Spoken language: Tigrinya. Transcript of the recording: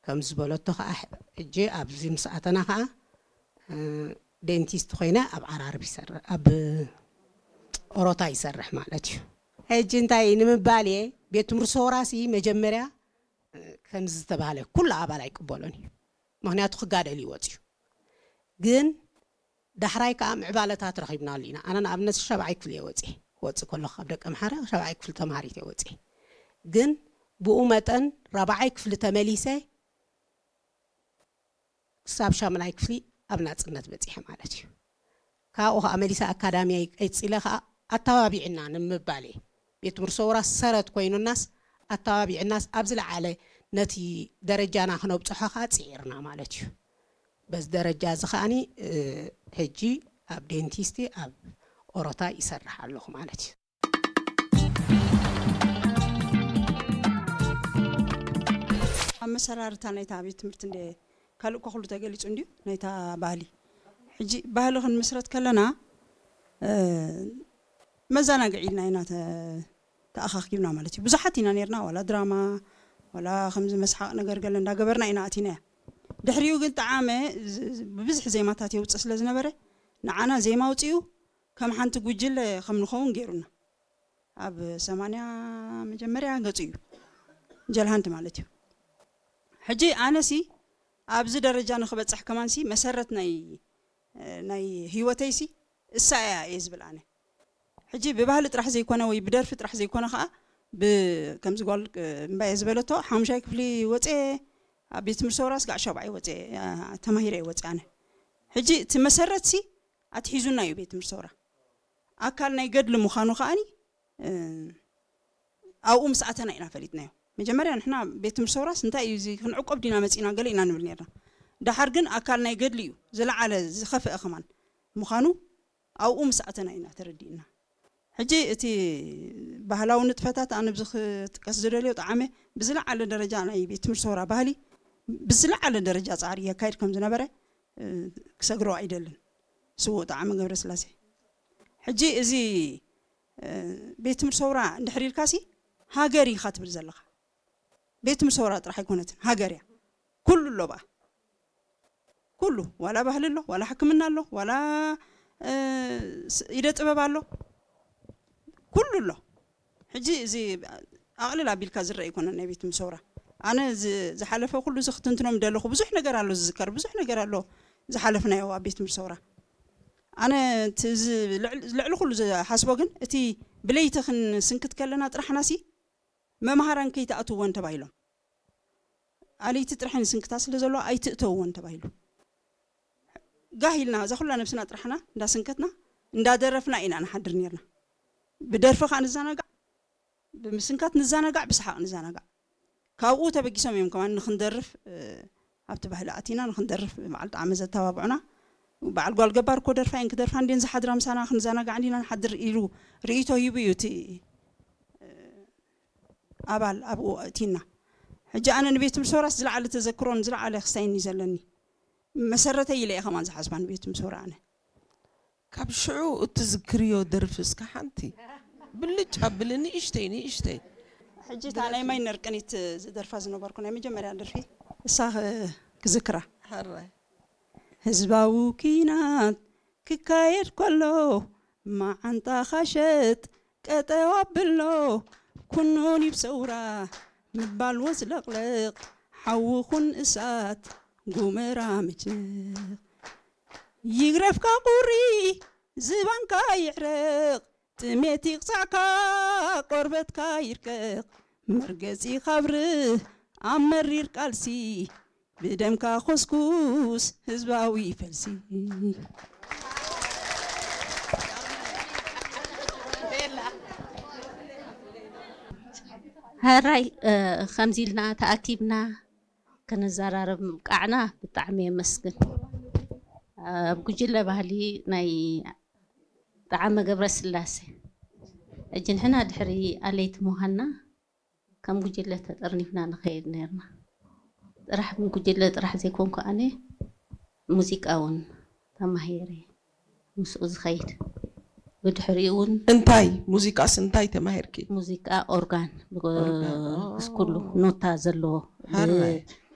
ከም ዝበለቶ ከዓ፣ ሕጂ ኣብዚ ምስ ኣተና ከዓ፣ እ፣ ዴንቲስት ኮይነ ኣብ ዓራርብ ይሰርሕ፣ ኣብ ኦሮታ ይሰርሕ ማለት እዩ። ሕጂ እንታይ ንምባል እየ፣ ቤት ትምህርቲ ሰውራሲ መጀመርያ፣ እ፣ ከምዚ ዝተባህለ ኩሉ ኣባል ኣይቅበሎን እዩ። ምኽንያቱ ክጋደል እዩ ወፂኡ። ግን ዳሕራይ ከዓ ምዕባለታት ረኺብናሉ ኢና። ኣነ ንኣብነት ሻብዓይ ክፍሊ እየ ወፂኤ። ክወፅእ ከለኹ ካብ ደቀ ምሓረ ሻብዓይ ክፍሊ ተምሃሪት እየ ወፂኤ። ግን ብኡ መጠን ራብዓይ ክፍሊ ተመሊሰ ክሳብ ሻምናይ ክፍሊ ኣብ ናፅነት በፂሐ ማለት እዩ። ካብኡ ከዓ መሊሰ ኣካዳሚ ቀፂለ ከዓ ኣተባቢዕና ንምባል እየ። ቤት ትምህርቲ ሰውራ ሰረት ኮይኑናስ ኣተባቢዕናስ ኣብ ዝለዓለ ነቲ ደረጃና ክነብፅሖ ከዓ ፅዒርና ማለት እዩ። በዚ ደረጃ እዚ ከዓኒ፣ እ፣ ሕጂ ኣብ ዴንቲስቲ ኣብ ኦሮታ ይሰርሕ ኣለኹ ማለት እዩ። ኣብ መሰራርታ ናይታ ቤት ትምህርቲ እንደ ካልእ እኮ ኩሉ ተገሊጹ እንድዩ ናይታ ባህሊ። ሕጂ ባህሊ ክንምስረት ከለና፣ እ፣ መዘናግዒ ኢልና ኢና ተ-፣ ተኣኻኺብና ማለት እዩ። ብዙሓት ኢና ነርና፣ ዋላ ድራማ፣ ዋላ ከምዚ መስሓቕ ነገር ገለ እንዳገበርና ኢና ኣቲናያ። ድሕሪኡ ግን ጠዓመ ዝ-፣ ዝ-፣ ብብዝሒ ዜማታት የውፅእ ስለ ዝነበረ፣ ንዓና ዜማ ኣውፂኡ ከም ሓንቲ ጉጅለ ከም ንኸውን ገይሩና። ኣብ ሰማንያ መጀመርያ ገጹ እዩ፣ ጀልሃንት ማለት እዩ። ሕጂ ኣነሲ ኣብዚ ደረጃ ንክበፅሕ ከማንሲ መሰረት ናይ፣ ናይ ህይወተይሲ እሳ እያ እየ ዝብል ኣነ። ሕጂ ብባህሊ ጥራሕ ዘይኮነ ወይ ብደርፊ ጥራሕ ዘይኮነ ከዓ ብ-፣ ከምዚ ጓል፣ እ፣ እምባየ ዝበለቶ ሓሙሻይ ክፍሊ ወፅየ፣ ኣብ ቤት ትምህርቲ ሰውራስ ጋዕ ሻብዓይ ወፅየ፣ እ፣ ተማሂረ እየ ወፅየ ኣነ። ሕጂ እቲ መሰረትሲ ኣትሒዙና እዩ ቤት ትምህርቲ ሰውራ። ኣካል ናይ ገድሊ ምዃኑ ከዓኒ፣ እ፣ ኣብኡ ምስ ኣተና ኢና ፈሊጥናዮ። መጀመርያ ንሕና ቤት ትምህርቲ ሰውራስ እንታይ እዩ እዚ ክንዕቆብ ዲና መፂና ገለ ኢና ንብል ነርና። ደሓር ግን ኣካል ናይ ገድሊ እዩ ዝለዓለ ዝኸፍአ ከማን ምዃኑ ኣብኡ ምስ ኣተና ኢና ተረዲእና። ሕጂ እቲ ባህላዊ ንጥፈታት ኣነ ብዚ ክጥቀስ ዝደልዮ ጠዓመ ብዝለዓለ ደረጃ ናይ ቤት ትምህርቲ ሰውራ ባህሊ ብዝለዓለ ደረጃ ፃዕሪ የካይድ ከም ዝነበረ፣ እ፣ ክሰግሮ ኣይደልን ስዉእ ጠዓመ ገብረስላሴ። ሕጂ እዚ፣ እ፣ ቤት ትምህርቲ ሰውራ እንድሕር ኢልካሲ ሃገር ኢኻ ትብል ዘለኻ። ቤት ትምህርቲ ሰውራ ጥራሕ ኣይኮነትን፣ ሃገር እያ። ኩሉ ኣሎ ብኣ። ኩሉ፣ ዋላ ባህሊ ኣሎ፣ ዋላ ሕክምና ኣሎ፣ ዋላ፣ እ፣ ስ-፣ ኢደ ጥበብ ኣሎ፣ ኩሉ ኣሎ። ሕጂ እዚ ኣቕልል ኣቢልካ ዝረአ ኣይኮነን ናይ ቤት ትምህርቲ ሰውራ። ኣነ ዝ-፣ ዝሓለፈ ኩሉ እዚ ክትንትኖም ደለኹ። ብዙሕ ነገር ኣሎ ዝዝከር፣ ብዙሕ ነገር ኣሎ ዝሓለፍናዮ ኣብ ቤት ትምህርቲ ሰውራ። ኣነ እቲ ዝ-፣ ልዕል-፣ ልዕሊ ኩሉ ዝሓስቦ ግን እቲ ብለይቲ ክንስንክት ከለና ጥራሕናሲ መምሃራን ከይትኣትውወን ተባሂሎም። ኣለይቲ ጥራሕ ንስንክታ ስለ ዘለዋ ኣይትእተውወን ተባሂሉ። ጋህ ኢልና እዛ ኩላ ነብስና ጥራሕና እንዳስንከትና እንዳደረፍና ኢና ንሓድር ነርና። ብደርፊ ከዓ ንዘናጋዕ፣ ብምስንካት ንዘናጋዕ፣ ብሰሓቕ ንዘናጋዕ። ካብኡ ተበጊሶም እዮም ከማን ንክንደርፍ፣ እ፣ ኣብቲ ባህሊ ኣቲና ንክንደርፍ በዓል ጣዕመ ዘተባብዑና። በዓል ጓል ገባር እኮ ደርፋ እየን ክደርፋ እንድየን ዝሓድራ ምሳና ክንዘናጋዕ እንዲና ንሓድር ኢሉ ርእይቶ ሂቡ እዩ እቲ፣ እ፣ ኣባል ኣብኡ ኣእቲና። ሕጂ ኣነ ንቤት ትምህርቲ ሰውራስ ዝለዓለ ተዘክሮን ዝለዓለ ክስታይን እዩ ዘለኒ። መሰረተይ ኢለ እየ ከማን ዝሓስባ ንቤት ትምህርቲ ሰውራ ኣነ። ካብ ሽዑ እትዝክርዮ ደርፊ እስከ ሓንቲ ብልጭ ኣብሊ፣ ንእሽተይ ንእሽተይ። ሕጂ እታ ናይ ማይ ነርቅኒት ዝደርፋ ዝነበርኩ ናይ መጀመርያ ደርፊ እሳ ክ-፣ ክዝክራ። ሕራይ። ህዝባዊ ኲናት ክካየድ ከሎ፣ መዓንጣኻ ሸጥ ቀጠው ኣብሎ፣ ኩኑን ይብ ሰውራ ምባል ወዝለቕለቕ፣ ሓዊ ኩን እሳት ጉመራ ምጭንቕ። ይግረፍካ ቁሪ ዝባንካ ይሕረቕ፣ ጥሜት ይቕጻዕካ ቆርበትካ ይርቀቕ፣ መርገጺ ካብ ርህ ኣብ መሪር ቃልሲ፣ ብደምካ ኹስኩስ ህዝባዊ ፈልሲ። ሕራይ፣ እ፣ ከምዚ ኢልና ተኣኪብና ክንዘራረብ ምብቃዕና ብጣዕሚ የመስግን። ኣብ ጉጅለ ባህሊ ናይ ጠዓመ ገብረስላሴ፣ ሕጂ ንሕና ድሕሪ ኣለይቲ ምዃንና ከም ጉጅለ ተጠርኒፍና ንኸይድ ነርና። ጥራሕ ጉጅለ ጥራሕ ዘይኮንኩ ኣነ ሙዚቃ እውን ተማሂረ ምስኡ ዝኸይድ። ብድሕሪኡ እውን እንታይ ሙዚቃስ እንታይ ተማሂርኪ? ሙዚቃ ኦርጋን፣ ብ-፣ ኦርጋን፣ ኦ። እስኩሉ ኖታ ዘለዎ፣ ብ-፣ ሕራይ።